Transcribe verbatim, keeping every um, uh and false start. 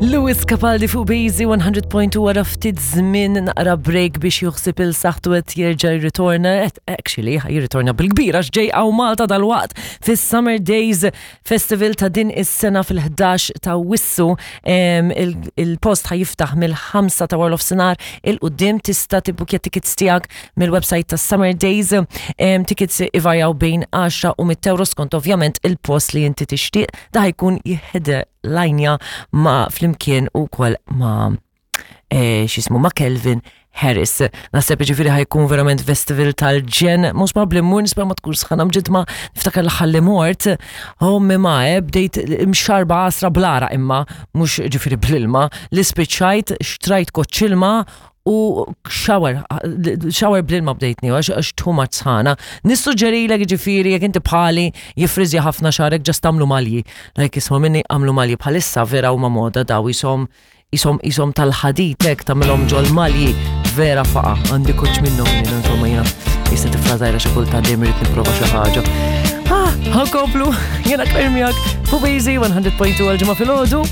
Lewis Capaldi fuq Bazy one hundred point two wara ftit żmien naqra break biex juħsib il-saħtu qed jerġa' jirritorna, qed actually jirritorna bil-kbira x'ġej hawn Malta dalwaqt fis-Summer Days Festival ta' din is-sena fil-ħdax ta' Awwissu. em, il- Il-post ħa jiftaħ mill-ħamsa ta' wara nofsinhar 'il quddiem. Tista' tibbukja tickets tiegħek mill-website ta' Summer Days. Em, Tickets ivarjaw bejn għaxra u mitt euro skont ovvjament il-post li inti tixtieq. Da jkun jheadlinja ma' flimkien ukoll ma' eh, x'jismu, ma' Calvin Harris. Naħseb ġifieri ħa jkun verament festival tal-ġenn, mhux probably mmur, nispera ma tkun sħana mġidma. Niftakar l-aħħar li mort, ommi ma eh, bdejt imxarba għasra bl-għaraq imma, mhux ġifieri bl-ilma, li spiċċajt, xtrajt koċċ ilma u shower, shower bl-ilma bdejtni, għax għax too much sħana. Nissuġġerilek ġifieri, jekk inti bħali jifriżja ħafna xagħrek, just għamlu malji. Like, isma' minni, għamlu malji. Bħalissa vera huma moda daw jisom jisom jisom tal-ħadid hekk, tagħmilhom ġol malji, vera faqa. Għandi koċ minnhom jien, insomma, jiena jista' tifla żgħira xi kultant dejjem irid nipprova xi ħaġa. Ah, ħa nkomplu, jiena Claire miegħek fuq Bazy one hundred point two għal Ġimgħa filgħodu.